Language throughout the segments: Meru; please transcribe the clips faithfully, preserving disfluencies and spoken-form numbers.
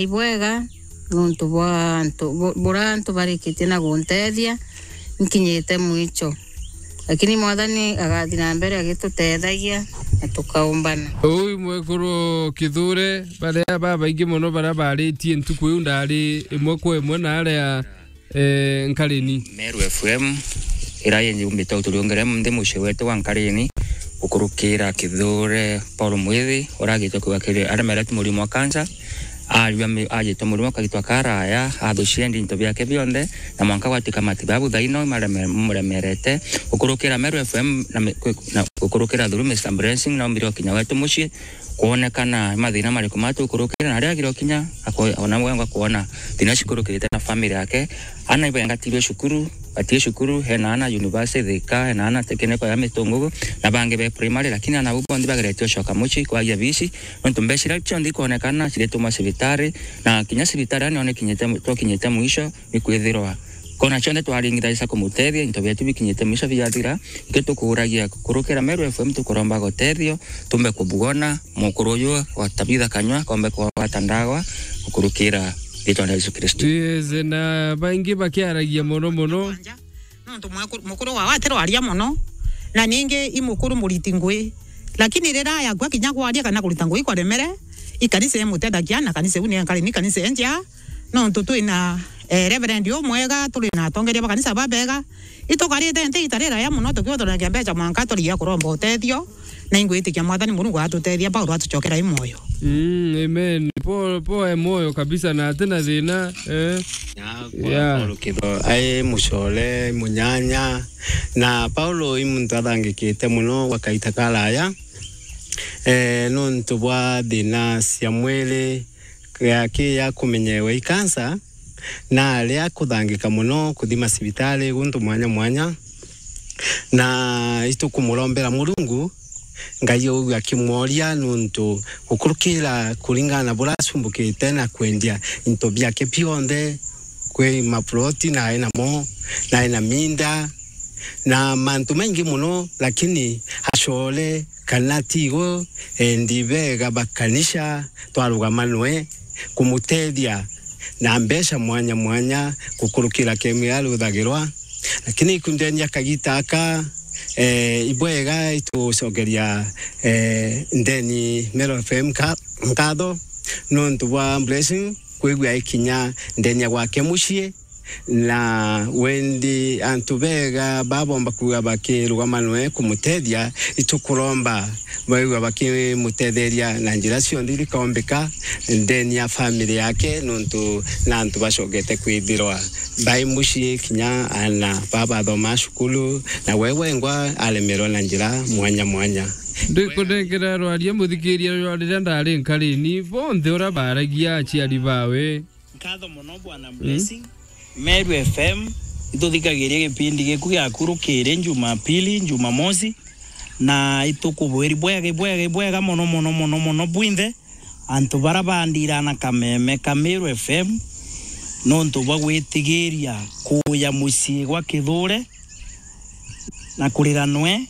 ibwega nontu bwa antu bu-, bura antu barikitie na guntethia, nkinyite mwicho. Lakini Mwathani agathi na mbere agitutethagia na tukaumbana. Uu mwekuru Kithure, baria babaingi mono baria baritie ntuku iu ndari imwe kwa imwe na aria eh, Nkarini. Meru F M, ira yenye umbite uturiongere nthi mucii wetu wa Nkarini, gukurukira Kithure Paul Mwithi, uragite kwigwa kiri aremerete murimo wa kansa, ariwa mi-, ajitwe murimo akagitwa karaya, athuciendi into biake bionthe, na mwanka gwatuika matibabu thaino mareme-, muremerete. Gukurukira Meru F M na mi-, kwi-, na gukurukira through Mister Blessing, na umbire ukinya wetu mucii, kwonekana mathina mariku matukurukire, na aria agire ukinya ako-, ona wengwa kwona thina cikurukirite na family yake. Ana ibengatirwe cukuru, batie cukuru, hena ana university Thika, hena ana technical ya Mitungugu, na bangi be primary, lakini ana bau bonthe bageretie ucoka mucii kwagia bici, nontu mbeca iria cionthe ikwonekana cirituma cibitari, na kinya cibitari ani one kinyite, twakinyite mwisho, ikwithirwa kona cionthe twaringithagia kumutethia, into bietu bikinyite mwisho biathira, ikio tukuragia kurukira Meru F M tukuromba gutethio, tumbe kubwona mukuru uyu wa Tabitha Kanywa, kombe kwagwata ndawa, gukurukira ritwa ria Yesu Kristo. Yes, na baingi bakiaragia mono mono. Nontu mweku-, mukuru wao atirwaria mono, na ningi i mukuru muriti ngui. Lakini riria yakua kinya kwaria kana kurita ngui kwaremere, i kanisa imutethagia, na kanisa iu ni Nkarini, ni kanisa enjea. Nontu twina, eh, reverend umwega, turi na atongeria ba kanisa babega. Itukarite nthi ita riraya mono tukiuthuragia mbeca mwanka turigia kuromba utethio, na ingwitikia Mwathani Murungu atutethia, Paulo atucokera i mwoyo. Mm, amen. Paul, Paul e mwoyo kabisa na atina thina, eh. Na kwa Yeah. Paul Kitho, ai mucore, munyanya, na Paulo i muntu athangikite mono gwa kaita karaya, eh, nontu bwa thina cia mwiri, ya ki ya kumenyewa i kansa, na aria kuthangika mono kuthima cibitari guntu mwanya mwanya, na itukumurombera Murungu, Ngai ugu akimworia, nontu gukurukira kuringana na buria acumbukite na kwendia into biake bionthe, kwi maploti nae namo, nae na minda, na mantu maingi mono, lakini acore kana tigo endi bega ba kanisa twarugama nwe kumutethia na mbeca mwanya mwanya gukurukira kemwe aruthagirwa. Lakini ikundenia kagita aka, eh, ibwega itucokeria, eh, ndeni Meru F M nka-, nkatho nontu bwa Blessing kwigua ikinya ndenia gwake mucii, na wendi antu bega babomba kuuga bakirugama nwe kumutethia, itukuromba baigua bakimutetheria na njira cionthe irikombika ndeni ya family yake, nontu na antu bacokete kwithirwa bai mucii, kinya ana babathoma cukuru, na we wengwa aremerwa na njira mwanya mwanya. Ndikunengera rwaria muthikiria rwa riria ndari Nkarini, bonthe uria baragia aciari bawe. Nkatho mono Bwana Blessing. Meru F M, ituthikagiria gipindi giku giakurukiri Jumapili, Jumamosi, na itukubwiri bwega, bwega, bwega mono, mono, mono, mono bwinthe antu bara bandira na kameme ka Meru F M, nontu bwa gwitigiria kuuya mucii gwa Kithure na kurira nwe,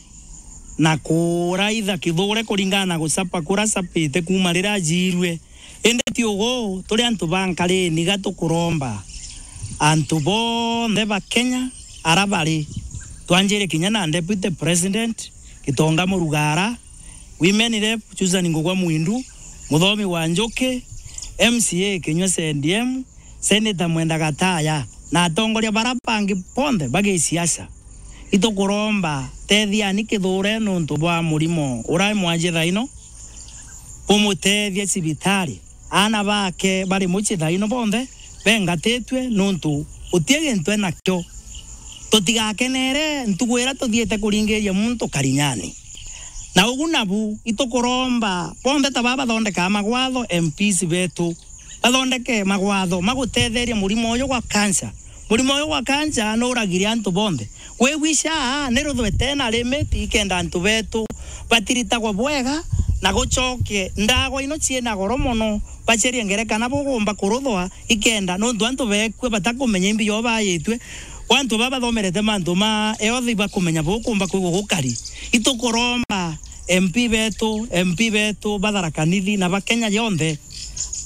na kuraitha Kithure kuringana na gucapa kuria acapite kuuma riria ajiirue. Indi ti ugu, turi antu ba Nkarini, ga tukuromba antu bonthe ba Kenya ara bari, twanjire kinya na Deputy President Gitonga Murugara, Women Rep Susan Ngugwa Mwindu, Muthomi wa Njuki, M C A Kinyua C D M, Senator Mwenda Gataya, na atongoria bara bangi bonthe ba gisiasa. Itukuromba, tethiani Kithure nontu bwa murimo uria mwaji thaino, bumutethie cibitari. Aana bake bari mucii thaino bonthe bengatitue nontu guti gintu enakio. Tutigakenere ntugu iria tuthiite kuringiria muntu karinyani. Na ugu nabu, itukuromba bonthe ta baba bathondekaa magwatho, M Ps betu, bathondeke magwatho ma gutetheria murimo uyu gwa cancer. Murimo uyu gwa cancer nuragiria antu bonthe. Kwigua SHA ni ruthwete na limit ikenda antu betu batiritagwa bwega na gucoke ndagwa ino ciina goro mono, bacerie ngerekana bugumba kuruthwa ikenda, nontu antu bekue batakumenya imbi yo bayitue. Kwa antu baba bathomerete mantu ma health bakumenya bukumba kwigua gukari. Itukuromba M P betu, M P betu ba Tharaka Nithi na ba Kenya yonthe,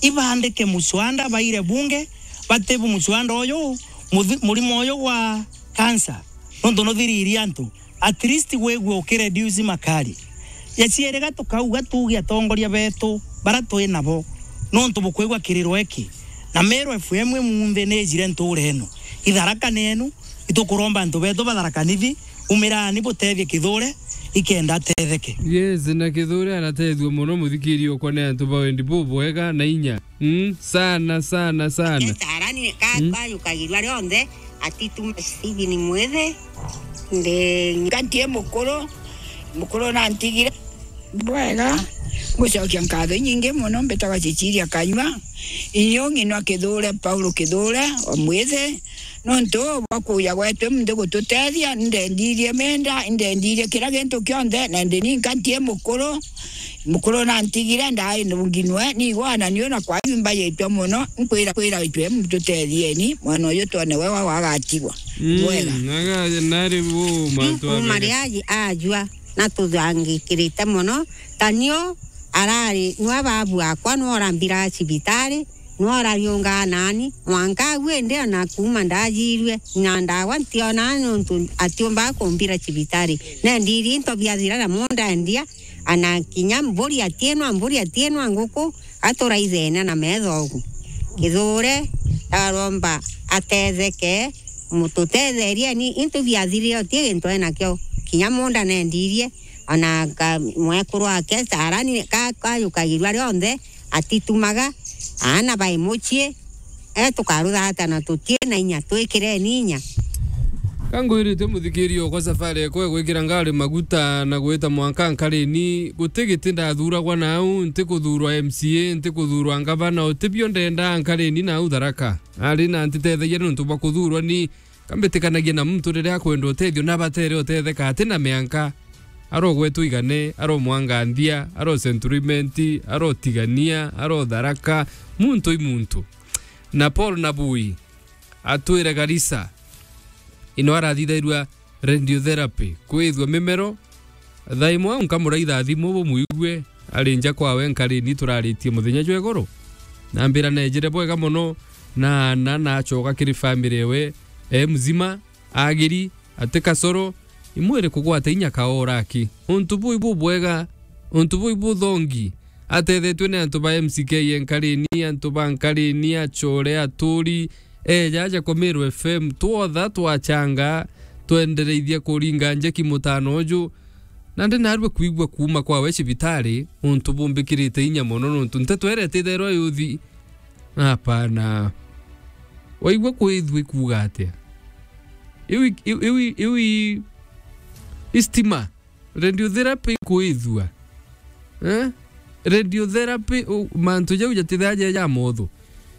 Ibandike muswanda baire bunge, batibu muswanda uyu, muthi-, murimo uyu gwa cancer, nontu nuthiririe antu. At least wigwe ukireduce makari. Ya cieriga tukauga tuuge atongoria betu bara twi nabo, nontu bukwigua kiriro iki. Na Meru F M imunthi ni ijire ntuura ino. Itharaka ni enu, itukuromba antu betu ba Tharaka Nithi, umirani butethie Kithure, ikenda atetheke. Yes, na Kithure aratethua mono, muthikiria okwa, ni antu ba wendi bubwega na inya. Mm, sana, sana, sana. Yes, arani ka-, mm, kayukagirua rionthe, atituma Stephen Mwithi, ndi nkantie mukuru, mukuru nantigire. Bwega, ngucokia nkatho inyingi mono, mbitagwa Cecilia Kanyua, inyo ng'inwa Kithure, Paulo Kithure, wa Mwithi, nontu bwa kuuja gwetu muntu gututethia, indendirie menda, indendirie kira gintu kionthe, na ndi ninkantie mukuru, mukuru nantigire, ndai nunginwe, nigwana niu na kwaju mbaitwe mono, nkwira, kwira itwe mututethieni, mwana uyu twone we wa wagatigwa. Mm, bwega. Aga-, nari bu mantu kuma abere. Riaji ajua, na tuthangikirite mono, ta nio arari, nwe babu akwa, nwe urambira cibitari, nwe urariungaa nani, mwanka agu indi ona kuma ndajirue, na ndawa ntiona nontu atiumba kumbira cibitari. Nendiri into biathira na mundendia, ana kinya mburi atienwa, mburi atienwa nguku, aturaithene na metho ugu. Kithure, aromba atetheke, mututetherie ni into biathirire uti gintu enakio. Kinya munda nendirie, ona ka-, mwekuru wake Sarani ka-, kayukagirua rionthe, atitumaga, aana bai mucii, e, tukaruthata na tutie na inya, twikireni inya. Ka ngwirite muthikiria okwa, safari ekwa egwikira ngari maguta na gwita mwanka nkarini, guti giti ndathuragwa nau, ntikuthurwa M C A, ntikuthurwa ngavana, utibio ndenda nkarini nau Tharaka. Ari na ntitethagia nontu bwa kuthurwa ni, kambitikanagia na muntu riria akwenda utethio na batere utetheka ati na mianka. Arogwetwa igane, aromwanganthia, arosenturimenti, arotigania, arotharaka, muntu i muntu. Na Paul Nabui, atwire Garissa, ino arathithairua radiotherapy, kwithua mimero, thaa imwe au nkamuraitha thimu bumuigue, ari nja kwawe nkarini turaritie muthenya jwa igoro. Nambira nejire bwega mono, na ana nachoka kiri family ewe, e mzima, agiri, ati kasoro, imwire kugwata inya kaora aki. Untu buu ibubwega, untu buu ibuthongi, atethetue ni antu ba M C K enkarini, antu ba nkarini, achore, aturi, eja aja kwa Meru F M, twotha twachanga, twendereithia kuringa njeki mutano uju, na ndi narua kwigua kuuma kwawe cibitari, untu bumbikirite inya mono, nontu nteto iria ititherwa yuthi. Hapana. Waigua kwithua ikuuga atia? Iu i-, iu, iu i-, iu i-, i stima. Radiotherapy ikwithua. Eh? Radiotherapy, u-, mantu jau jatithaja ja motho.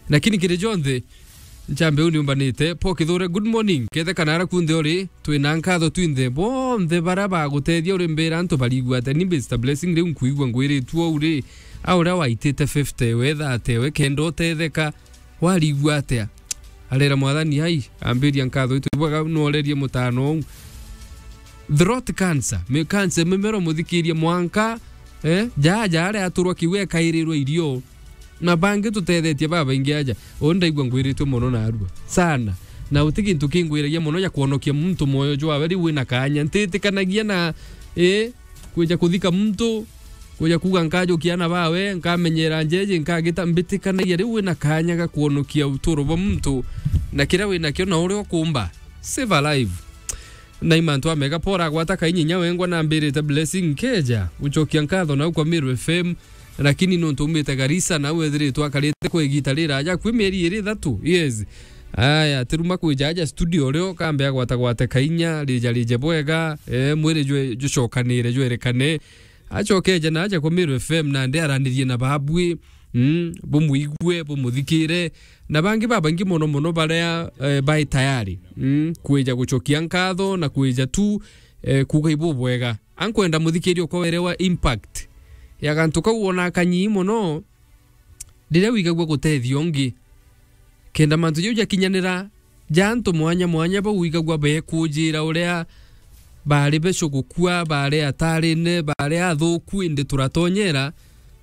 Lakini kiri jonthe, nchambe u niumbanite. Paul Kithure, good morning. Kethe kana ara kunthe uri, twina nkatho twinthe. Bonthe bara bagutethia uri mbira antu barigua atia. Ni Mister Blessing, riu nkuigua ngwiritue uu ri, a uria waitite fifty we, thirty we, kenda utetheka. Warigua atia? Arera Mwathani, ai, ambiria nkatho itu bwega, nworerie mutano uu. Throat cancer, mi-, cancer mimero muthikirie mwanka, eh, ja, ja aria aturwa kiu ekairirwe irio. Na bangi tutethetie babaingi aja. Uu ndaigua ngwiritue mono narua. Sana. Na uti gintu kingwiragia mono ja kwonokia muntu mwoyo jwawe riu wina kanya. Ntitikanagia na, eh, kwija kuthika muntu, kuja kuuga nkajukia ana bawe, nkamenyera njeje, nkagita, mbitikanagia riu wina kanya ga kwonokia uturo bwa muntu, na kiria winakio na uria ukumba. Save a life. Na i mantu amega, Paul agwata kainya inya wengwa na mbirite Blessing nkeja gucokia nkatho nau kwa Meru F M, lakini nontu umite Garissa, nau ethiritwe akarite kwa igita riraja, akui mieri iri ithatu, yes. Aya, tiruma kwija aja studio rio, kambe agwatagwate kainya, rija rije bwega, eh, mwiri jwe-, jucokanire, jwerekane. Acokeja na aja kwa Meru F M, nandi aranirie na babui, mm, bumuigue, bumuthikire, na bangi babaingi mono mono baria, eh, bai tayari, mm, kwija gucokia nkatho na kwija tu, eh, kuuga ibubwega. Ankwenda muthikiria ukwa werewa impact ya gantu kau wona kanyii mono, riria wigagua gutethia ungi. Kenda mantu jau jakinyanira, ja antu mwanya mwanya bau wigagua bekujira uria bari beco gukua, bari atarine, bari athuku, indi turatonyera,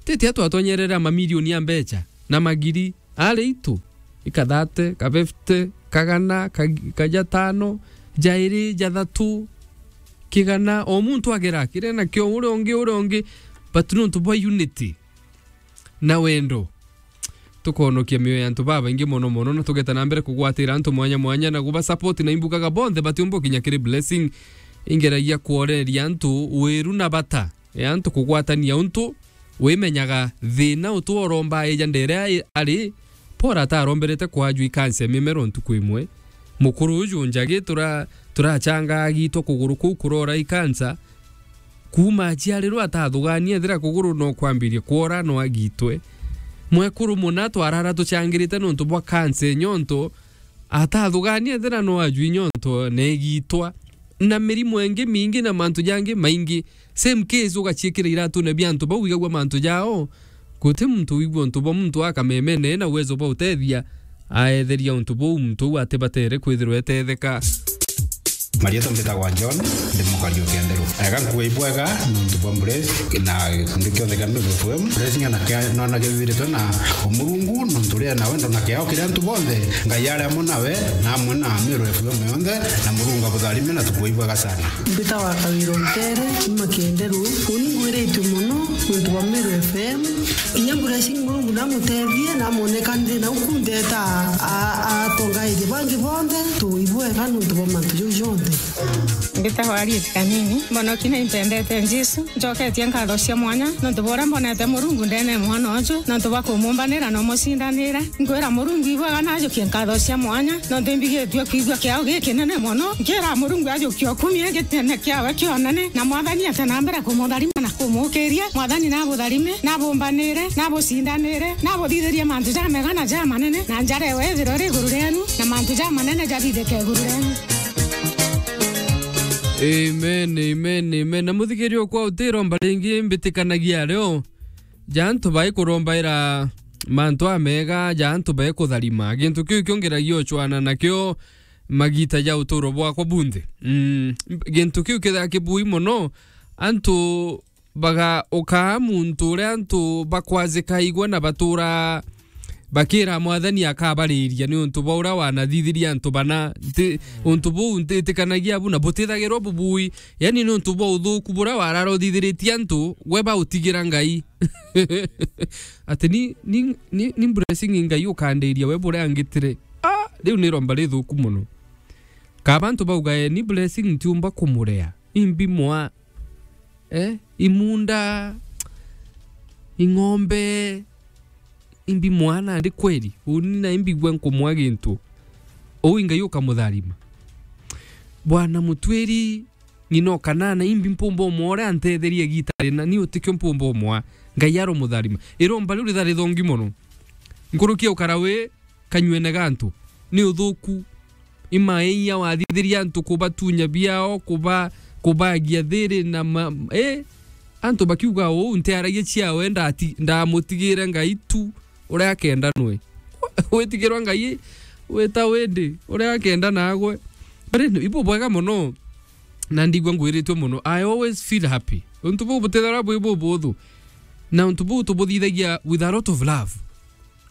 titia twatonyerere a mamilioni a mbeca. na magiri, ari itu, ikathate, ka fifty, kagana, ka-, kajatano, jairi, jathatu, kigana, o muntu agera kire nakio, uria ungi, uria ungi, but nontu bwa unity na wendo, tukonokia mioyo ya antu babaingi mono mono, na tugeta na mbere kugwatira antu mwanya mwanya na guba support, na imbugaga bonthe batiumba kinya kiri Blessing. Ingeragia kworeria antu wiru na bata ya antu kugwatania untu wimenyaga thina utu oromba eja ndere ai-, ari, Paul ataromberete kwajua ikansa ya mimero ntuku imwe. Mukuru uju njagi tura-, turachangaa gitwa kuguru kuu kurora ikansa, kuuma aciarirwe atathugania ethira kuguru no kwambirie kwora no agitwe. Mwekuru muna twarara tuchangirite nontu bwa kansa nyonto, atathugania ethira no ajui nyonto na igitwa. Na mirimo ingi mingi na mantu jangi maingi. Same case ugaciikira iratune bia antu bau igagua mantu jao. Guti muntu wigua untu bwa muntu akamemene na uwezo bwa utethia, aetheria untu buu muntu uu atibatere kwithirwa etetheka. Marietwa mbitagwa John, ndi mukari o Kenderu. Ega nkuga ibwega nontu bwa Blessing na gikundi kionthe kia Meru F M. Blessing ana kia nona kibiritwe na Murungu nontu ria na wendo na kiao kiria antu bonthe. Ngai ari amwe nawe na amwe na Meru F M yonthe, na Murungu abutharime na tukuga ibwega sana. Mbitagwa Kawira Ntere, nyuma Kenderu. Uni ngwiritwe mono nontu bwa Meru F M. Kinya Blessing Murungu namutethie, namwoneka nthina uku ndeta a-, atongairie bangi bonthe, tuibwega nontu bwa mantu jau jonthe. Mbitagwa Harriet Kanini. Mbonoki na impendete Jesu. Njoketie nkatho cia mwanya nontu bwa uria mbonete Murungu ndene mwana uju, nontu bwa kumumbanira na umucindanira. Nkwira Murungu ibwega najukie nkatho cia mwanya, nontu imbigitue kwigua kiao gikinene mono. Nkira Murungu ajukie ukumie gitene kiawe kionene, na Mwathani ate na mbere kumutharima na kumukiria. Mwathani nabutharime, nabumbanire, nabucindanire, nabuthithirie mantu jamega na jamanene, na njara ewe ithirwe iri iguru rienu, na mantu jamanene jathithike iguru rienu. Amen, amen, amen. Na muthikiria kwa utiro mbaringi mbitikanagia ario ja antu bai kurombaira mantu amega, ja antu bai kutharima. Gintu kiu kiongeragia uchwana nakio magita ja uturo bwakwa bunthe. Mm, gintu kiu kithaa kibui mono, antu baga ukaa muntu uria antu bakwazika igwe na batura bakira Mwathani akabariria ni untu bwa uria wanathithirie antu bana. Nti-, untu buu ntitikanagia abu na butithagirwa bubui. Yani ni untu bwa uthuku buria warara uthithiritie antu, we bautigira Ngai. Ati ni, ni, ni, ni Blessing Ngai ukandiria we buria angitire. Ah, riu ni romba rithuku mono. Kaba antu bauga, "Eh, ni Blessing ntiumba kumurea. Imbi mwa, eh, imunda, ing'ombe, imbi mwa nandi kweri. Uni na imbigua nkumwa gintu." Uu Ngai ukamutharima. Bwana Mutwiri, ng'ina o kanana, imbi mpumba umwa uria antetherie gitari na ni utikio mpumba umwa. Ngai aromutharima. Iromba riu ritharithongi mono. Nkuruki ukara wi kanywene ga antu. Ni uthuku. Imaia wathithiria antu kubatunya biao, kuba-, kubagia thiri na ma-, eh? Antu bakiuga uu, ntiaragia ciawe, ndati-, ndamutigire Ngai tu uria akenda nwe. Witigirwa Ngai wita windi uria akenda nagwe. But anyway, ibu bwega mono, na ndigua ngwiritwe mono. I always feel happy. Untu buu butithagirwa bwi bubuthu. Na untu buu tubuthithagia with a lot of love.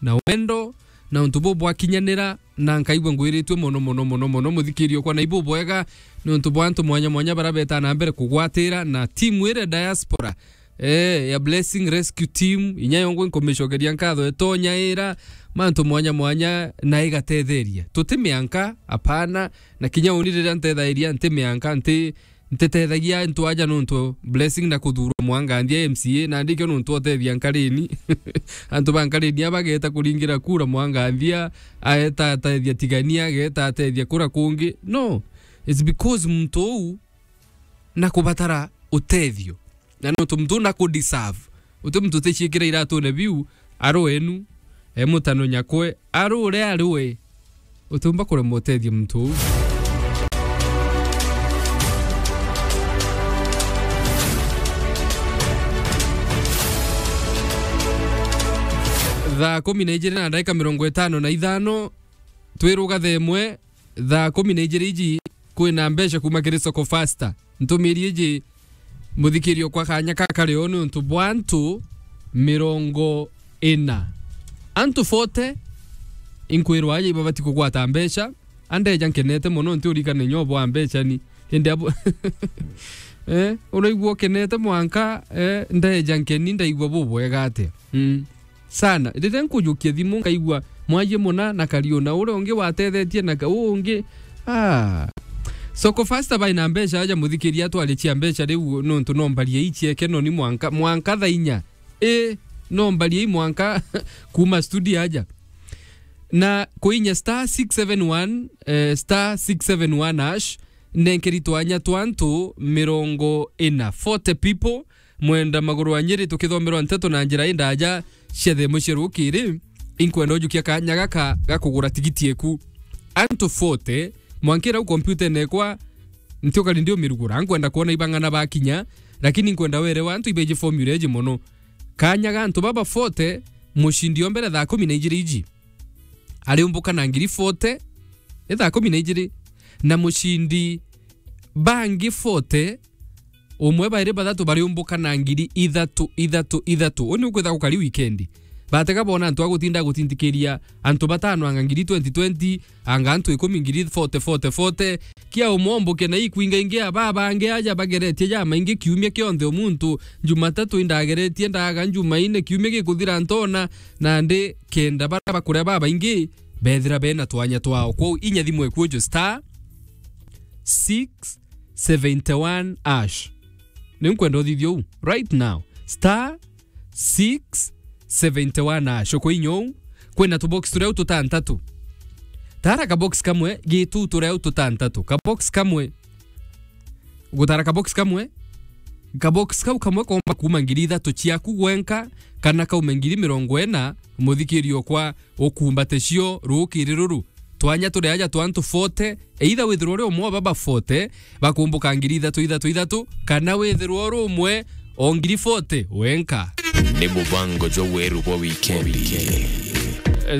Na wendo, na untu buu bwakinyanira, na nkaigua ngwiritue mono, mono, mono, mono, muthikirio kwa na ibu bwega, ni untu bwa antu mwanya mwanya bara beta na mbere kugwatira, na timu ire diaspora, eh, ya Blessing Rescue Team, inya yongwe nkumicokeria nkatho itonya ira, mantu mwanya mwanya, na igatetheria. Tuti mianka, apana, na kinya uni riria ntethagiria, nti mianka, nti ntitethagia antu aja nontu Blessing na kuthurwa mwanganthia M C A, na ndikio nontu otethia nkarini. Antu ba nkarini abageta kuringira kura mwanganthia, aeta atethia Tigania, ageta atethia kura kungi. No, it's because muntu uu na kubatara utethio. Na nontu muntu uu na ku deserve. Uti muntu uticiikira iratune biu, ari wenu, e mutano nyakwe, ari uria ari we. Utiumba kuremwa utethia muntu uu. Thaa kumi na ijiri na ndagika mirongo itano na ithano, twiruga thaa imwe, thaa kumi na ijiri iji kwina mbeca kuma kiri Soko Fasta. Ntumiri iji muthikirio kwa kanya kakari o ni untu bwa antu mirongo ina. Antu forty, inkwirwa aja ibabati kugwata mbeca, andeja nkenete mono, nti urikane nyobo wa mbeca ni. Indi abo, eh, uraigua ukenete mwanka, eh, ndeja nkeni, ndaigua bubwega atia? Mm. Sana. Riria nkujukia thimu, ngaigua mwaji muna na Kariuna, uria ungi watethetie na ka-, uu ungi. Ah. Soko Fasta bai na mbeca aja muthikiria, atwaricia mbeca riu, nontu no mbarie ichieke noni mwanka, mwanka thaa inya. Ii, no mbarie i mwanka kuuma studio aja. Na kuinya star six seven one, eh, star six seven one hash, nenkeri twanya twa antu mirongo ina, forty people, mwenda maguru a Nyeri, tukithomerwa nteto na njira indaja cia themo cia rukiri. Inkwenda ujukia kanya gaka ga kugura tigiti eku. Antu forty, mwankira u kompyutene ekwa, ntiukari ndi umirugura. Nkwenda kwona ibang'ana bakinya, lakini nkwenda werewa antu ibeji formula eji mono. Kanya ga antu baba forty, mucindi o mbere thaa kumi na ijiri iji ariumbuka na ngiri forty, ni thaa kumi na ijiri, na mucindi bangi forty, umwe, bairi, bathatu bariumbuka na ngiri ithatu, ithatu, ithatu. Uu ni ukwitha gukari wikendi. Batega bona antu a gutinda gutindikiria antu batano anga ngiri twenty twenty, anga antu ikumi ngiri forty, forty, forty. Kia umwe omboke na ikwinga ingi, aba bangi aja bageretie jamaingi kiumia kionthe. O muntu, Jumatatu indageretie ndaga, Jumaine kiumia gikuthira ntona, nandi kenda baria bakuria babaingi bethira bena twanya twao. Kwou inya thimu ekuo ju star six seventy one hash. Ni nkwenda uthithie uu right now. Star six seventy one hash. Ukoinya uu, kwina tubox turia u tutantatu. Tara kabox kamwe, gitu turia u tutantatu. Kabox kamwe. Gutara kabox kamwe. Kabox kau kamwe komba kuuma ngiri ithatu ciaku gwenka, kana kaume ngiri mirongo ina, muthikiri okwa, ukumbate cio rukiri ruru. Twanya turi aja twa antu forty, either withirwa uri umwe wa baba forty, bakumbuka ngiri ithatu ithatu ithatu, kana withirwa uri umwe o ngiri forty wenka. Ni mubango jwa weru bwa wikendi.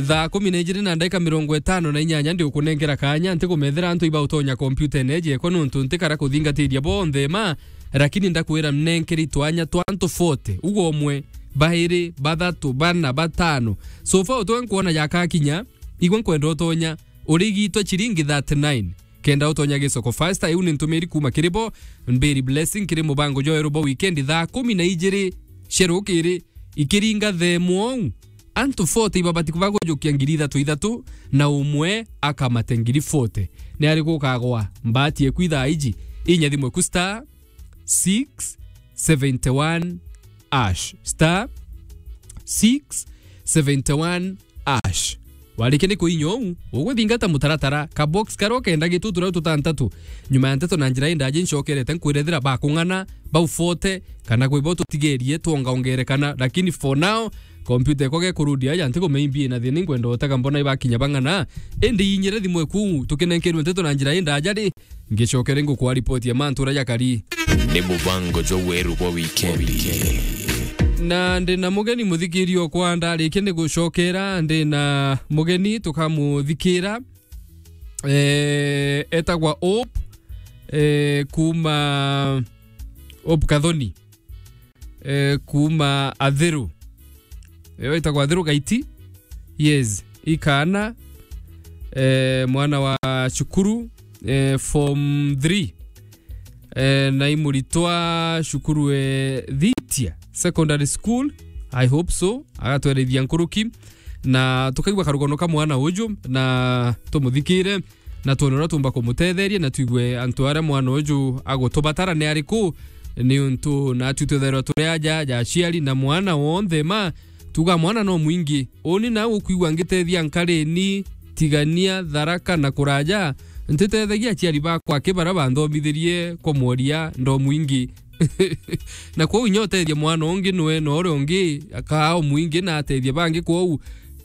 Thaa kumi na ijiri na ndagika mirongo itano na inyanya ndi ukunengera kanya, ntikumethera antu iba utonya kompyutene eji ekwa, nontu ntikara kuthingatiria bonthe ma, lakini ndakwira nenkeri twanya twa antu forty, ugo umwe, bairi, bathatu, bana, batano. So far utwe nkwona jakakinya, igwe nkwenda utonya urigitwe chiringi thirty nine. Kenda utonya gisoko faster, iu ni ntumiri kuuma kiri bo, Mbiri Blessing, kiri mubango jwa weru bwa wikendi thaa kumi na ijiri cia rukiri, ikiringa themo uu. Antu forty ibabati kuba gujukia ngiri ithatu ithatu, na umwe akamate ngiri forty. Ni ari gukagwa mbati eku ithaa iji? Inya thimu eku star six seventy one hash. Star six seventy one hash. Warikia ni kuinya uu, uguthingata mutaratara, ka box karia ukenda gitu turia tutantatu. Nyuma ya nteto na njira indaji ncokerete nkwirethira bakung'ana, bau forty, kana kwi bo tutigerie twongaongerekana, lakini for now, kompyuta ekwa gekurudi aja, ntikumenya imbi ina thina, inkwenda utega mbona ibakinya bang'ana. Indi inyire thimu eku, tukinenkerwe nteto na njira indaja ri, ngicokere ngukwa ripoti ya mantu uria jakari. Ni mubango jwa weru bwa wikendi. Na ndi na mugeni muthikiri okwa, ndarikia ni gucokera, ndi na mugeni tukamuthikira. Eh, etagwa Hope, eh, kuuma Hope Kathoni, eh, kuuma Athiru. Yo itagwa Athiru Gaiti. Yes, ikana, eh, mwana wa cukuru, eh, form three. Eh, na imuritwa cukuru, eh, Thitia Secondary School. I hope so. Agatwerethia nkuruki. Na tukaigua karugono ka mwana uju, na tumuthikire, na twone uria tumba kumutetheria, na twigue antu aria mwana uju agutubatara ni ariku, niuntu natwi twithairwa turi aja ja aciari, na mwana wonthe ma tuga mwana no mwingi. Uni na ukwigua ngitethia Nkarini, Tigania, Tharaka na kuraja, ntitethagia aciari bakwa aki baria banthomithirie kwa mworia ndo mwingi. Na kwou inya utethia mwana ungi nwe, na uria ungi akaa o mwingi na atethia bangi, kwou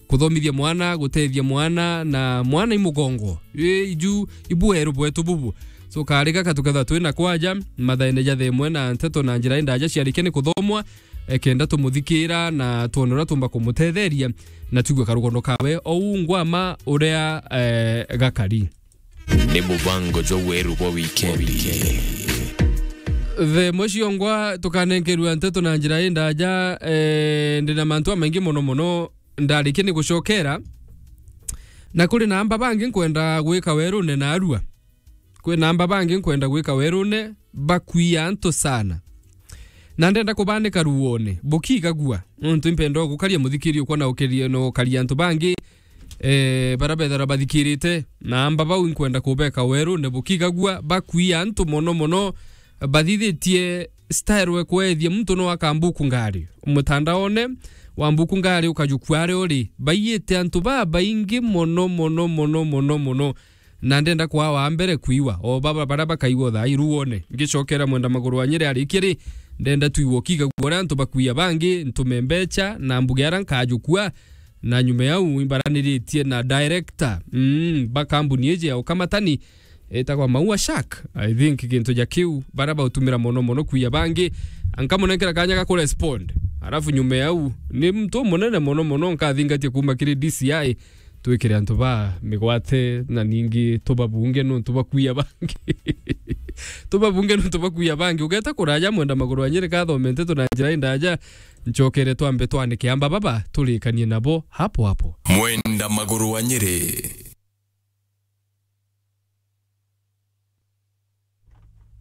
kuthomithia mwana, gutethia mwana, na mwana i mugongo. Ii, iju, ibu weru bwetu bubu. So, kari gaka tukethwa twina kwaja, mathaene ja themwe na nteto na njira indaja ciarikia ni kuthomwa, e, kenda tumuthikira na twone uria tumba kumutetheria, na twigue karugono kawe. Ou ngwama uria, e, gakari. Ni mubango jwa weru bwa wikendi. The muciongwa tukanenkerua nteto na njira indaja, eh, ndina mantu amaingi mono mono, ndarikia ni gucokera, na kuri na amba bangi nkwenda gwika werune na arua. Kwi na amba bangi nkwenda gwika werune, bakwia antu sana. Na ndenda kubanika ruone, bukigagua. Nontu impenda gukaria muthikiri ukwa na ukirie no ukaria antu bangi, eh, bara bethera bathikirite. Na amba bau nkwenda kubeka werune, bukigagua, bakwia antu mono mono, bathithitie style we kwethia muntu no akambuku ngari. Mutandaone wa mbuku ngari ukajukua ari uri. Baiyite antu babaingi mono, mono, mono, mono, mono. Na ndenda kwaa wa mbere kwiwa, o baba bara bakaigua thaa iruone. Ngicokera mwenda maguru wa Nyeri arikia ri, ndenda twigua ukiga guo uria antu bakwia bangi, ntume mbecha, na mbuge ara nkajukua, na nyuma yau imbaraniritie na director, mm, ba kambuni iji ya ukamatani, etagwa Maua Shark. I think gintu ja kiu, bara bautumira mono mono kwia bangi, nkamunenkera kanya ga kurespond. Arafu nyuma yau, ni muntu umunene mono mono, nkathingatia kuma kiri D C I, twikire antu ba migwate na ningi tubabunge nontu bakwia bangi. Tubabunge nontu bakwia bangi. Ugeta kuraja mwenda maguru wa Nyeri kathome nteto na njira indaja, ncokere twambe twanike amba baba turikanie nabo hapo hapo. Mwenda maguru wa Nyeri.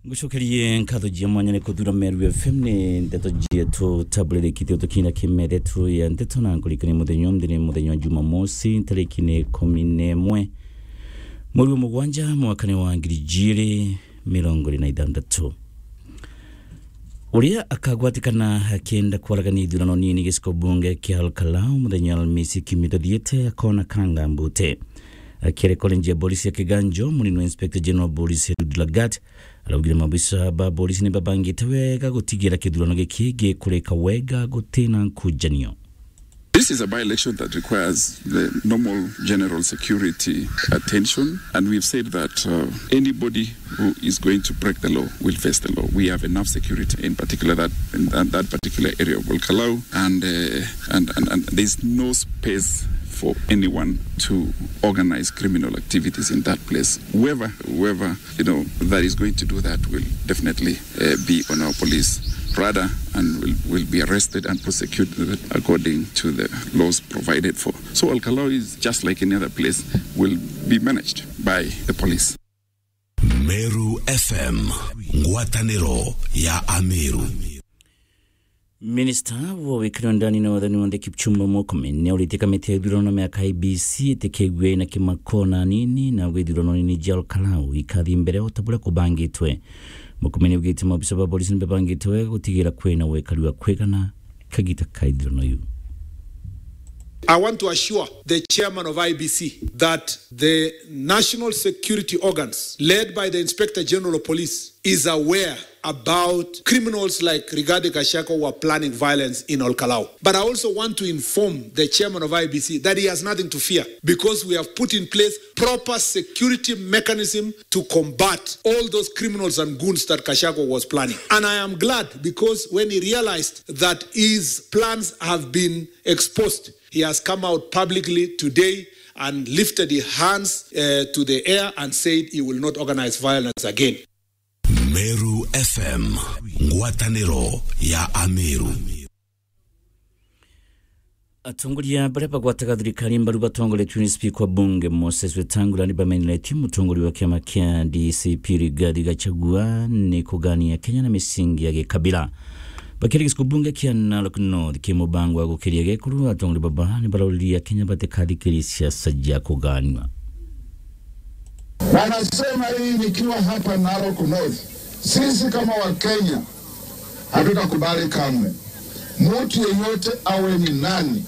Ngucokerie nkatho jia mwanya ni kuthura Meru F M ni ndeto jietu taburirikithio tukinya kimeretu ya ndeto na nkurikania muthenya umthi ni muthenya wa Jumamosi, tariki ni ikumi na imwe mweri wa mugwanja mwakani wa ngiri ijiri mirongo iri na ithanthatu. Uria akagwatikana akienda kwaragania ithurano nini giciko bunge kia Olkalau muthenya wa Alhamisi kiumia tuthiite akona kanga mbute. Akiaria college ya polisi ya Kiganjo, munini wa Inspector General Police Eliud Lagat araugire mabisa ba polisi ni babangite wega gutigira kithurano giki gikurika wega gutina nkujanio. This is a by-election that requires the normal general security attention, and we've said that, uh, anybody who is going to break the law will face the law. We have enough security, in particular that, in that, that particular area of Olkalau, and, uh, and, and, and there's no space for anyone to organize criminal activities in that place. Whoever, whoever, you know, that is going to do that will definitely, uh, be on our police radar and will, will be arrested and prosecuted according to the laws provided for. So Olkalau is just like any other place, will be managed by the police. Meru F M, ngwataniro ya Ameru. Minista wa wikari wa ndani na wathani wa nthi Kipchumba Murkomen ni auritie kamiti ya ithurano na miaka I E B C itikigue na kimako na nini na ithurano nini jia Olkalau ikathi mbere o ta buria kubangitwe. Murkomen augite maofisa ba polisi ni bebangitwe gutigira kwina wekari wa kwigana kagita ka ithurano iu. I want to assure the chairman of I E B C that the national security organs, led by the Inspector General of Police, is aware about criminals like Rigathi Gachagua who are planning violence in Olkalau. But I also want to inform the chairman of I E B C that he has nothing to fear because we have put in place proper security mechanism to combat all those criminals and goons that Gachagua was planning. And I am glad because when he realized that his plans have been exposed, he has come out publicly today and lifted his hands, uh, to the air and said he will not organize violence again. Meru F M, ngwataniro ya Ameru. Atongoria baria bagwataga thirikari mbaru batongoretue ni Speaker wa Bunge Moses Wetangula ni bameneretie mutongoria wa kiama kia D C P Rigathi Gachagua ni kugania Kenya na misingi ya gikabila. Bakiaria gicigo bunge kia Narok North ki mubango wa gukiria gekuru, atongoria baba ni barauria Kenya batikathikiria siasa ja kuganua. Na nasema hii nikiwa hapa Narok North. Sisi kama Wakenya hatutakubali kamwe mtu yeyote awe ni nani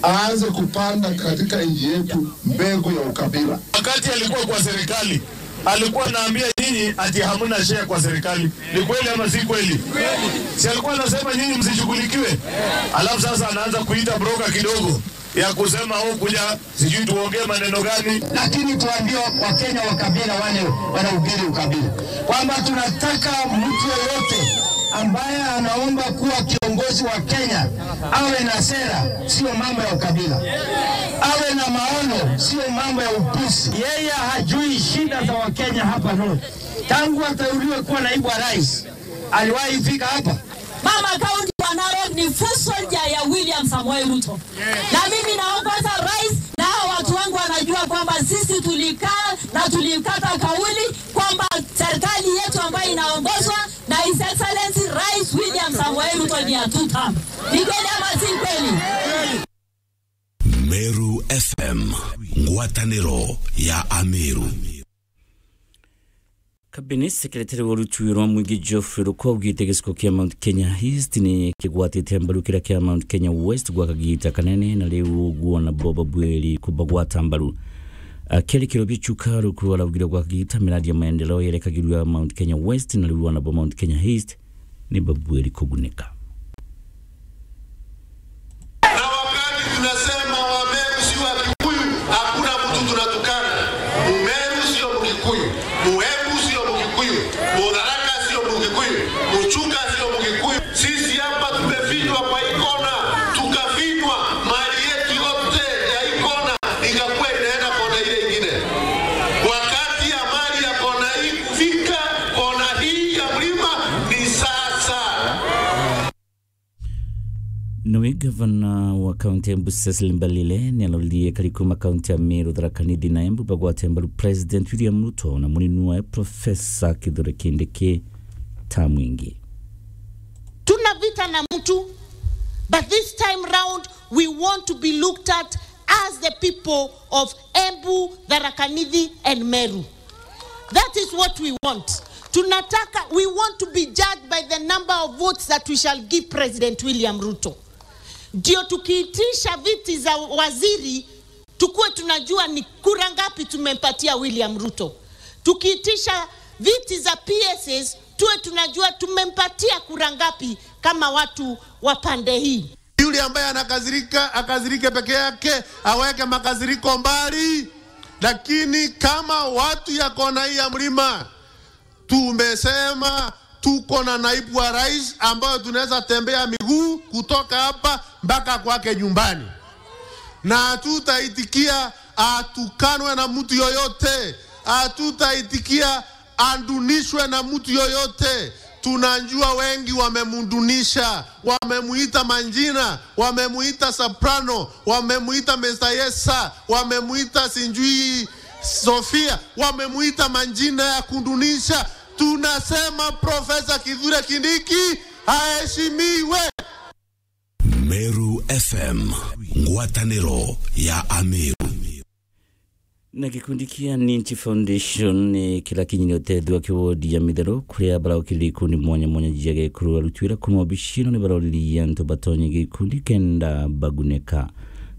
aanze kupanda katika nchi yetu mbegu ya ukabila. Wakati alikuwa kwa serikali, alikuwa anaambia nyinyi ati hamna share kwa serikali. Ni kweli ama si kweli? Si alikuwa anasema nyinyi msishughulikiwe? Alafu sasa anaanza kuita broker kidogo ya kusema, "Oh, kuja, sijui tuongee maneno gani." Lakini tuambie Wakenya wa kabila wale wanahubiri ukabila kwamba tunataka mtu yeyote ambaye anaomba kuwa kiongozi wa Kenya awe na sera, sio mambo ya ukabila, awe na maono, sio mambo ya upuzi. Yeye hajui shida za Wakenya hapa North. Tangu ateuliwe kuwa naibu wa rais, aliwahi fika hapa? Mama County wa Narok ni foot soldier ya William Samoei. Samoei Ruto. Na mimi naomba sasa rais na hawa watu wangu wanajua kwamba sisi tulikaa na tulikata kauli kwamba serikali yetu ambayo inaongozwa na His Excellency Rais William Samoei Ruto ni ya two term. Ni kweli ama si kweli? Meru F M, ngwatanĩro ya Ameru. Cabinet Secretary wa rutuwi rwa mwingi Geoffrey Ruku augite giciko kia Mount Kenya East ni kigwatite mbaru kiria kia Mount Kenya West gwa kagiita kanene, na riu uguo nabo babwiri kubagwata mbaru. Akiarikirwa bichuka, Ruku araugire gwa kagiita miradi ya maendeleo yerekagirua Mount Kenya West, na riu anabo Mount Kenya East ni babwiri kugunika. Na wakati tunasema Wameru si Wakikuyu, hakuna mtu tunatukana. Mumeru sio Mkikuyu, Muembu sio Mkikuyu, Mutharaka sio Mkikuyu, Muchuka sio Mkikuyu. Sisi hapa tumefinywa kwa hii kona, tukafinywa, mali yetu yote ya hii kona ikakuwa inaenda kona ile ingine. Wakati ya mali ya kona hii kufika kona hii ya mlima ni sasa. Nawe gavana wa kaunti ya Embu Cecily Mbalile ni aroririe kari kuma kaunti ya Meru, Tharaka Nithi na Embu bagwate mbaru President William Ruto na munini wae Professor Kithure Kindiki ta mwingi. Tuna vita na mtu, but this time round we want to be looked at as the people of Embu, Tharaka Nithi and Meru. That is what we want. Tunataka, we want to be judged by the number of votes that we shall give President William Ruto. Ndio tukiitisha viti za waziri, tukue tunajua ni kura ngapi tumempatia William Ruto. Tukiitisha viti za P S As, tuwe tunajua tumempatia kura ngapi kama watu wa pande hii. Yule ambaye anakasirika, akasirike peke yake, aweke makasiriko mbali. Lakini kama watu ya kona hii ya mlima, tumesema tuko na naibu wa rais ambayo tunaweza tembea miguu kutoka hapa mpaka kwake nyumbani, na hatutaitikia atukanwe na mtu yoyote, hatutaitikia adunishwe na mtu yoyote. Tunajua wengi wamemdunisha, wamemuita majina, wamemuita Soprano, wamemuita Mister Yesa, wamemuita sijui Sofia, wamemuita majina ya kudunisha. Tunasema Profesa Kithure Kindiki aheshimiwe. Meru F M, ngwatanĩro ya Ameru. Na gikundi kia Ninchi Foundation ni kira kinyire utethio ki wodi ya Mitheru, kuria baraukirire ikundi mwanya mwanya jia gikuru. Aruti wira kuma obici ino ni baroririe antu batonye gikundi kenda baguneka.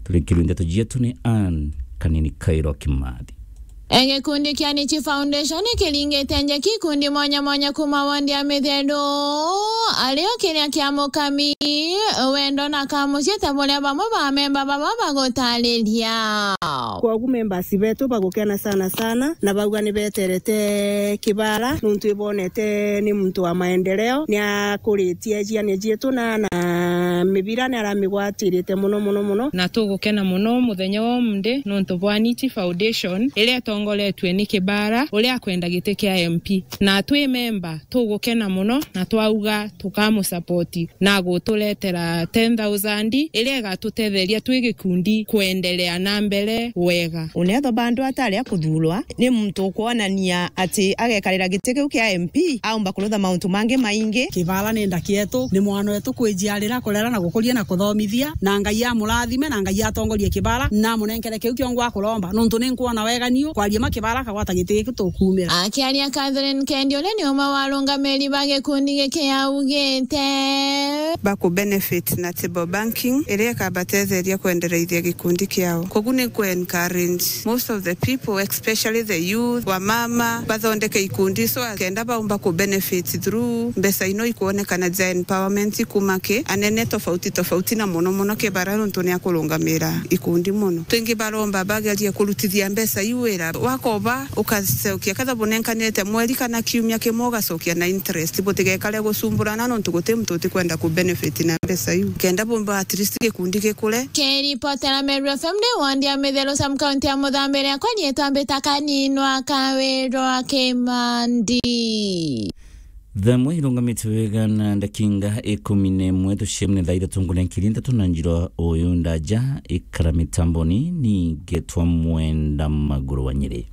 Turikirwe ndeto jietu ni Ann Kanini Kairo Kimathi. E, gikundi kia Ninchi Foundation kiringite njeki ikundi mwanya mwanya kuma wondi ya Mitheru, ario kiria kia mukami, wendo na kamucii ta buria bamwe ba memba baba bagutariria. Kwogu members betu bagukena sana sana, na bauga ni beterete Kibara, nuntu ibonete ni muntu wa maendeleo, ni akuritie ciana cietu na, na mibira ni aramigwatirite muno muno muno. Na tugukena muno muthenya wa umuthi nuntu bwa Ninchi Foundation, iria itongoretue ni Kibara, uria akwenda giti kia M P. Na twi memba, tugukena muno na twauga tukamusapoti na guturetera ten thousand iria igatutetheria twi gikundi kwendelea na mbere wega. Unethwa bandu atari akuthurwa, ni muntu ukwonania ati agekarira giti kiu kia M P, aumba kurutha mauntu mangi maingi. Kibara ni ndaki yetu, ni mwana wetu kwijiarira, kurera na gukuria na kuthomithia, na Ngai amurathime, na Ngai atongorie Kibara, na amunenkere kiu kiongo akuromba, nuntu ni nkwona wega niu kwaria ma Kibara akagwata giti giki tukumira. Akiaria Catherine Kendi, uria ni umwe wa arungamiri ba gikundi giki, augite, baku benefit na table banking, iria ikabatetheria kwendereithia gikundi kiao. Kogu ni ku encourage most of the people, especially the youth, wamama, bathondeke ikundi, so kenda baumba ku benefit through mbeca ino ikwonekana ja empowerment kuma ki anene tofauti tofauti, na muno muno Kibara nuntu ni akurungamira ikundi muno. Twingi baromba bagerie kurutithia mbeca iu wira, wakoba ukacokia, ketha bunenkanite mweri kana kiumia kimwe ugacokia na interest, butigekare gucumburana nuntu guti muntu utikwenda ku benefit na mbeca iu. Kenda bumba at least gikundi gikure. Kiripotera Meru F M ni wondi ya Mitheru, sub county ya Muthambi, riakwa riitwa mbita Kaninwa Kawirwa Kimandi. Thaa imwe irungamite wega na ndakinga ikumi na imwe, tuciemne thaa ithatu nguria nkiri nthatu na njira uyu ndaja ikara mitamboni, ningetwa Mwenda Maguru wa Nyeri.